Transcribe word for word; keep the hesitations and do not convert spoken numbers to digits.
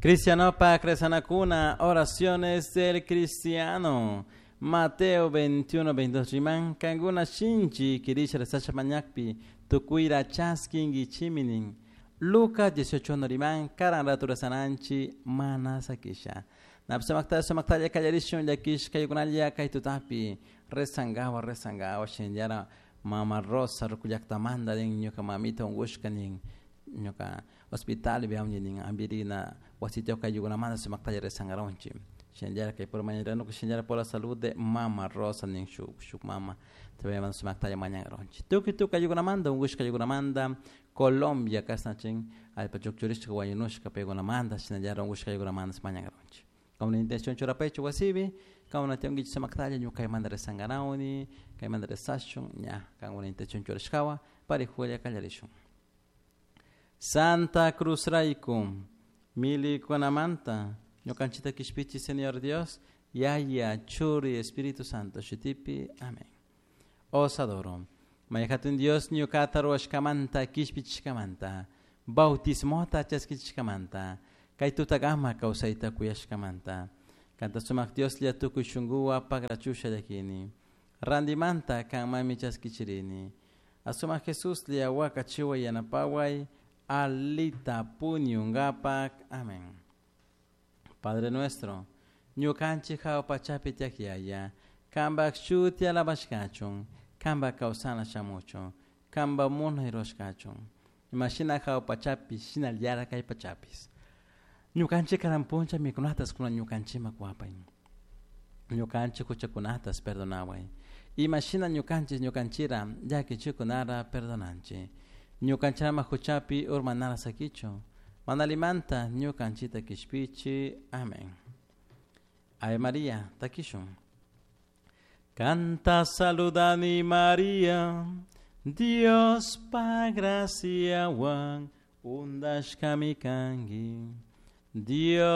Cristianopa Cresanacuna, oraciones del cristiano. Mateo veintiuno, veintidós riman, kankuna shinchi kirisha rezasha mañakpi, tukuira chaskinkichiminin. Lucas dieciocho uno riman, karan ratu rezananchi mana sakisha. Napsamakta sumaktalla kallarishun llakish kaykunalla kaytutapi, rezangawa rezangawa shinllara mama Rosa rukullaktamanta nin ñuka mamita unkushka nin ñuka hospital viamni nin ambirina wasitio kayukunamanta sumaktalla rezangaronchi. Shinllara kay por mañana shinllara por la salud de mama Rosa nin shuk shuk mama todavía sumaktalla mañangaronchi. Tukuy tukuy kayukunamanta unkushka kayukunamanta Colombia kasnachin allpa chukchurishka wañunushka paykunamanta shinallara unkushka kayukunamanta mañangaronchi. Como la intención churapecho wasibi, como na tengo sumaktalla ñukaymanta rezangarawni, kaymanta rezashun, ña, como la intención churashkawa, parijulla kallarishun. Santa Cruz rayku, milikunamanta, ñukanchita kishpichi Señor Dios, Yaya, Churi, Espíritu Santo, shutipi, amén. Os adoro. Mayhatun Dios ñukata ruwashkamanta, kishpichishkamanta, bautismota chaskichishkamanta, kay tutagama kawsayta kuyashkamanta. Kanta sumak Dios lla tukuy shunkuwa pagrachusha llakini. Randimanta kanmami chaskichirini. Asumak Jesus lla wakachiwa yanapaway, alita puñungapak. Amén. Padre nuestro, ñukanchik hawa pachapi tiyak yaya, kanpak shuti alabashkachun, kanpak kawsana shamuchun, kanpak munay rurashkachun. Imashina hawa pachapi, shinallara kay pachapis. Ñukanchik karan puncha mikunatas kuna ñukanchikman kuwapay. Ñukanchik huchakunatas perdonaway. Imashina ñukanchik ñukanchira llakichikunara perdonanchik. Ñukanchirama huchapi urmanara sakichu. Manalimanta ñukanchita kishpichi. Amén. Ave María, takishun. Canta saludani María, Dios pa graciawan undashkami kanki. Dios